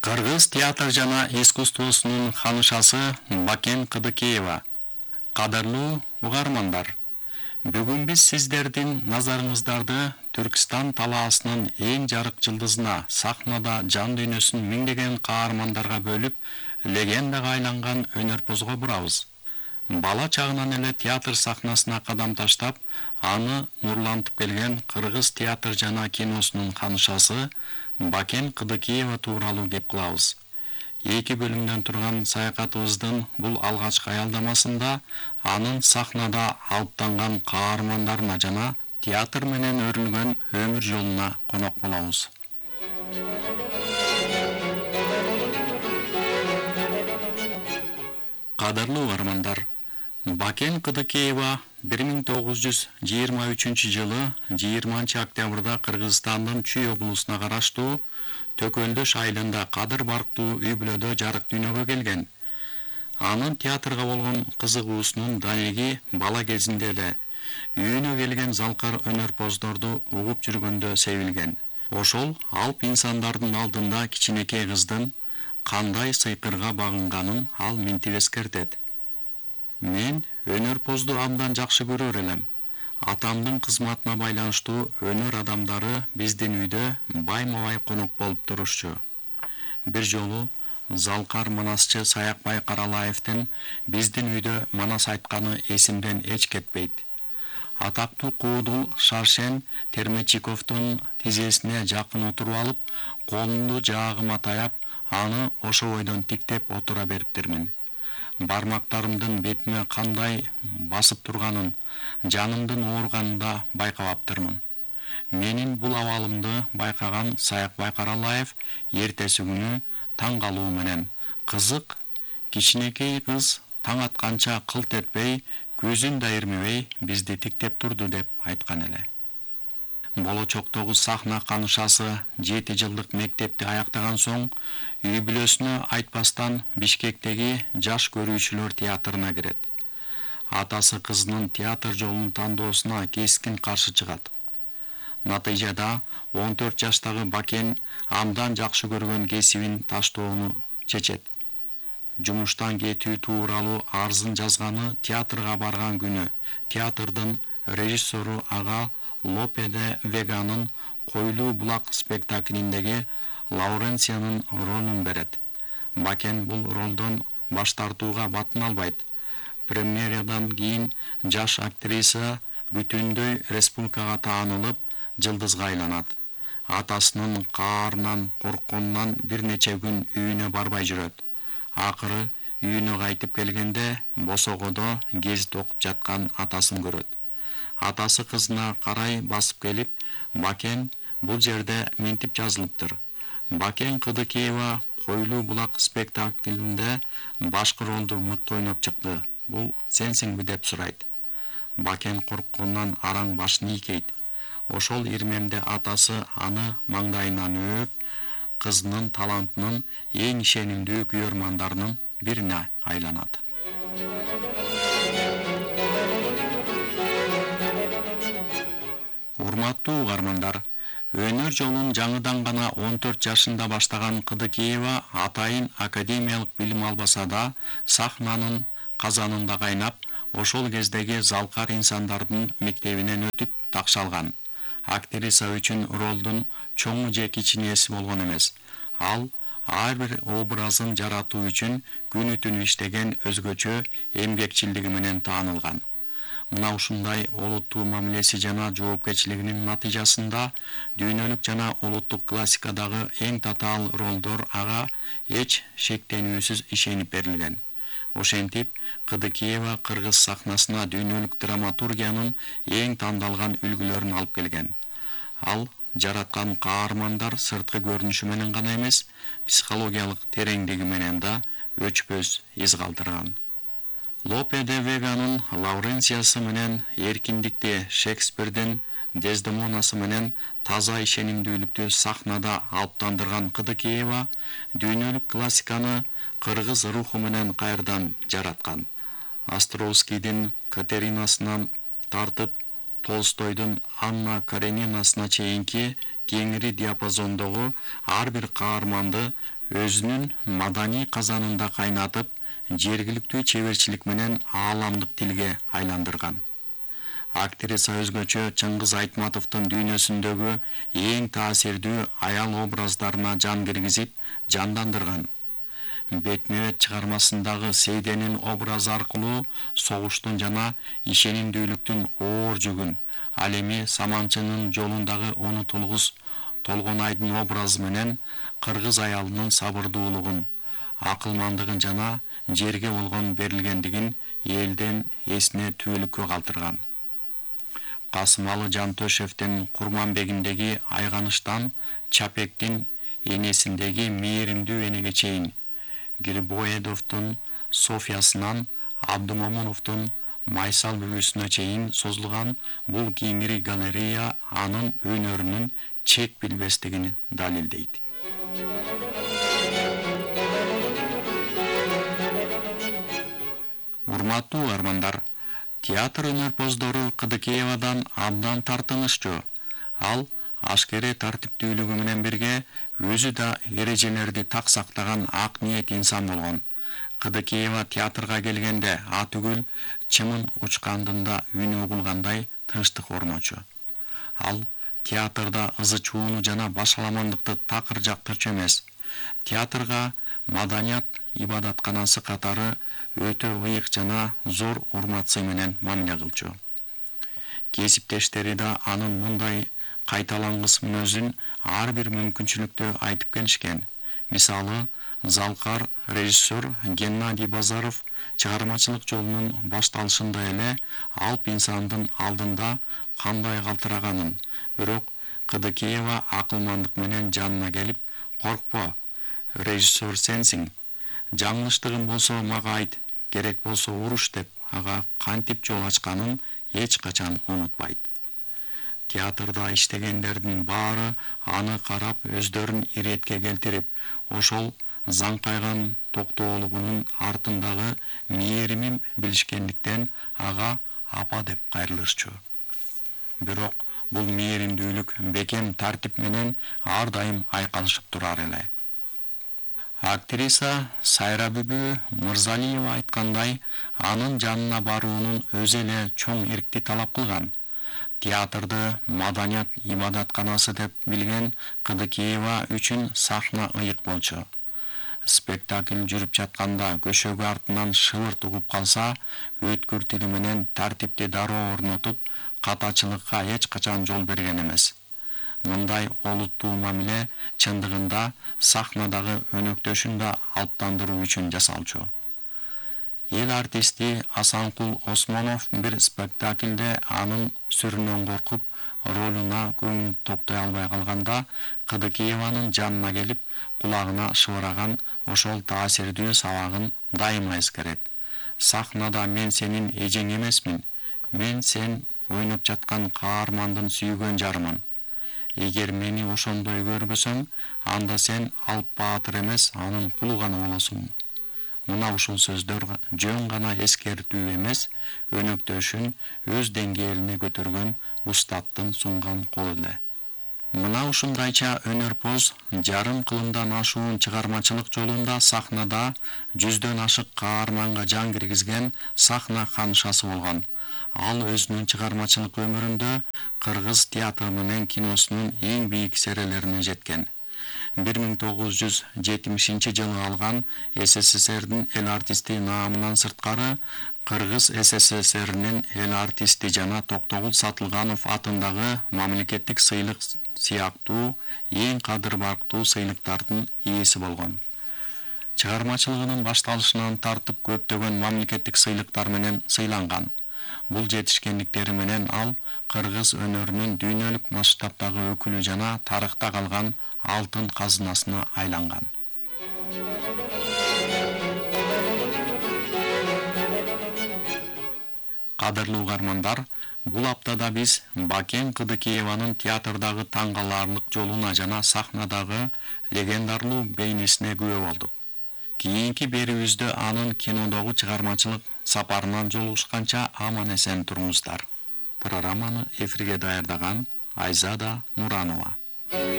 Кыргыз театр жана искусствосунун ханышасы Бакен Кыдыкеева. Кадырлуу угармандар, бүгүн биз сиздердин назарыңыздарды Түркистан талаасынын эң жарык жылдызына, сахнада жан дүйнөсүн миңдеген каармандарга бөлүп, легендага айланган өнөрпозго бурабыз. Бала чагынан эле театр сахнасына кадам таштап, аны нурлантып келген Кыргыз театр жана киносунун ханышасы Бакен Кыдыкеева тууралуу кеп кылабыз. 2 бөлүмдөн турган саякатыбыздын бул алгачкы аялдамасында анын сахнада алыптанган каармандарына жана театр менен өрүлгөн өмүр жолуна конок болобуз. Кадырлуу угармандар, Бакен Кыдыкеева 1923-жылы 20-октябрда Кыргызстандын Чүй облусуна караштуу Төкөлдөш айылында Кадыр барктуу үй-бүлөдө жарык дүйнөгө келген. Анын театрга болгон кызыгуусунун далиги бала кезинде эле үйүнө келген залкар өнөрпоздорду угуп жүргөндө себилген. Ошол алп инсандардын алдында кичинекей кыздын кандай сыйкырга багынганын ал минтип эскертет. Мен өнөрпозду абдан жакшы көрөр элем. Атамдын кызматына байланыштуу өнөр адамдары биздин үйдө байма-бай конок болуп турушчу. Бир жолу залкар манасчы Саякбай Каралаевдин биздин үйдө манас айтканы эсимден эч кетпейт. Атактуу куудул Шаршен Термечиковдун тизесине жакын отуруп алып, колумду жаагыма таяп, аны ошо бойдон тиктеп отура бериптирмин. Бармактарымдын бетиме кандай басып турганын, жанымдын ооруганын да байкабаптырмын. Менин бул абалымды байкаган Саякбай Каралаев эртеси күнү таң калуу менен: "Кызык, кичинекей кыз таң атканча кылт этпей, көзүн да ирмебей бизди тиктеп турду" деп айткан эле. Болочоктогу сахна канышасы 7 жылдык мектепти аяктаган соң үй-бүлөсүнө айтпастан Бишкектеги жаш көрүүчүлөр театрына кирет. Атасы кызынын театр жолун тандоосуна кескин каршы чыгат. Натыйжада 14 жаштагы Бакен абдан жакшы көргөн кесибин таштоону чечет. Жумуштан кетүү тууралуу арызын жазганы театрга барган күнү театрдын режиссеру ага Лопе де Веганын Койлуу булак спектаклиндеги Лауренциянын ролун берет. Бакен бул ролдон баш тартууга батын албайт. Премьерадан кийин жаш актриса бүтүндөй республикага таанылып, жылдызга айланат. Атасынын каарынан коркконунан бир нече күн үйүнө барбай жүрөт. Акыры үйүнө кайтып келгенде босогодо гезит окуп жаткан атасын көрөт. Атасы кызына карай басып келип: "Бакен, бул жерде минтип жазылыптыр. Бакен Кыдыкеева Койлуу булак спектаклинде башкы ролду мыкты ойноп чыкты. Бул сенсиңби?" деп сурайт. Бакен коркконунан араң башын ийкейт. Ошол ирмемде атасы аны маңдайынан өөп, кызынын талантынын эң ишенимдүү күйөрмандарынын бирине айланат. Урматтуу угармандар, өнөр жолун жаңыдан гана 14 жашында баштаган Кыдыкеева атайын академиялык билим албаса да, сахнанын казанында кайнап, ошол кездеги залкар инсандардын мектебинен өтүп такшалган. Актриса үчүн ролдун чоңу же кичинеси болгон эмес. Ал ар бир образын жаратуу үчүн күнү-түнү иштеген өзгөчө эмгекчилдиги менен таанылган. Мына ушундай олуттуу мамилеси жана жоопкерчилигинин натыйжасында дүйнөлүк жана улуттук классикадагы эң татаал ролдор ага эч шектенүүсүз ишенип берилген. Ошентип, Кыдыкеева кыргыз сахнасына дүйнөлүк драматургиянын эң тандалган үлгүлөрүн алып келген. Ал жараткан каармандар сырткы көрүнүшү менен гана эмес, психологиялык тереңдиги менен да өчпөз из калтырган. Лопе де Веганын Лауренциясы менен эркиндикти, Шекспирдин Дездемонасы менен таза ишенимдүүлүктү сахнада алыптандырган Кыдыкеева дүйнөлүк классиканы кыргыз руху менен кайрадан жараткан. Островскийдин Катеринасынан тартып Толстойдун Анна Каренинасына чейинки кеңири диапазондогу ар бир каарманды өзүнүн маданий казанында кайнатып, жергиликтүү чеберчилик менен ааламдык тилге айландырган. Актриса өзгөчө Чыңгыз Айтматовдун дүйнөсүндөгү эң таасирдүү аял образдарына жан киргизип, жандандырган. Бетме-бет чыгармасындагы Сейденин образы аркылуу согуштун жана ишенимдүүлүктүн оор жүгүн, ал эми Саманчынын жолундагы унутулгус Толгонайдын образы менен кыргыз аялынын сабырдуулугун, акылмандыгын жана жерге болгон берилгендигин элден эсине түбөлүккө калтырган. Касымалы Жантөшевдин Курманбегиндеги айганыштан Чапектин энесиндеги мээримдүү энеге чейин, Грибоедовдун Софиясынан Абдумомуновдун Майсал бүбүсүнө чейин созулган бул кеңири галерея анын өнөрүнүн чек билбестигин далилдейт. Урматтуу угармандар, театр өнөрпоздору Кыдыкеевадан абдан тартыныччу. Ал ашкере тартиптүүлүгү менен бирге өзү да эрежелерди так сактаган ак ниет инсан болгон. Кыдыкеева театрга келгенде атүгүл чымын учкандында үнү угулгандай тынчтык орночу. Ал театрда ызы-чууну жана башаламандыкты такыр жактырчу эмес. Театрга маданият ибадатканасы катары өтө ыйык жана зор урмат-сый менен мамиле кылчу. Кесиптештери да анын мындай кайталангыс мүнөзүн ар бир мүмкүнчүлүктө айтып келишкен. Мисалы, залкар режиссер Геннадий Базаров чыгармачылык жолунун башталышында эле алп инсандын алдында кандай калтыраганын, бирок Кыдыкеева акылмандык менен жанына келип, "Коркпо, режиссер сенсиң. Жаңылыштыгың болсо мага айт, керек болсо уруш" деп ага кантип жол ачканын эч качан унутпайт. Театрда иштегендердин баары аны карап өздөрүн иретке келтирип, ошол заңкайган токтоолугунун артындагы мээримин билишкендиктен ага апа деп кайрылышчу. Бирок бул мээримдүүлүк бекем тартип менен ар дайым айкалышып турар эле. Актриса Сайра бүбү Мырзалиева айткандай, анын жанына баруунун өзү эле чоң эркти талап кылган. Театрды маданият ибадатканасы деп билген Кыдыкеева үчүн сахна ыйык болчу. Спектакль жүрүп жатканда көшөгү артынан шыбырт угуп калса, өткүр тили менен тартипти дароо орнотуп, катачылыкка эч качан жол берген эмес. Мындай олуттуу мамиле чындыгында сахнадагы өнөктөшүн да алптандыруу үчүн жасалчу. Эл артисти Асанкул Осмонов бир спектаклде анын сүрүнөн коркуп, ролуна көңүл топтой албай калганда, Кыдыкееванын жанына келип, кулагына шыбыраган ошол таасирдүү сабагын дайыма эскерет. "Сахнада мен сенин эжең эмесмин. Мен сен ойноп жаткан каармандын сүйгөн жарымын. Эгер мени ошондой көрбөсөң, анда сен Алп Баатыр эмес, анын кулу гана болосуң." Мына ушул сөздөр жөн гана эскертүү эмес, өнөктөшүн өз деңгээлине көтөргөн устаттын сунган колу эле. Мына ушундайча өнөрпоз жарым кылымдан ашуун чыгармачылык жолунда сахнада жүздөн ашык каарманга жан киргизген сахна ханышасы болгон. Ал өзүнүн чыгармачылык өмүрүндө кыргыз театры менен киносунун эң бийик серелерине жеткен. 1970-жылы алган СССРдин эл артисти наамынан сырткары, Кыргыз СССРнин эл артисти жана Токтогул Сатылганов атындагы мамлекеттик сыйлык сыяктуу эң кадыр барктуу сыйлыктардын ээси болгон. Чыгармачылыгынын башталышынан тартып көптөгөн мамлекеттик сыйлыктар менен сыйланган. Бул жетишкендиктери менен ал кыргыз өнөрүнүн дүйнөлүк масштабтагы өкүлү жана тарыхта калган алтын казынасына айланган. Кадырлуу угармандар, бул аптада биз Бакен Кыдыкееванын театрдагы таң каларлык жолуна жана сахнадагы легендарлуу бейнесине күбө болдук. Кийинки берүүбүздө анын кинодогу чыгармачылык сапарынан жолугушканча аман-эсен туруңуздар. Программаны эфирге даярдаган Айзада Нуранова.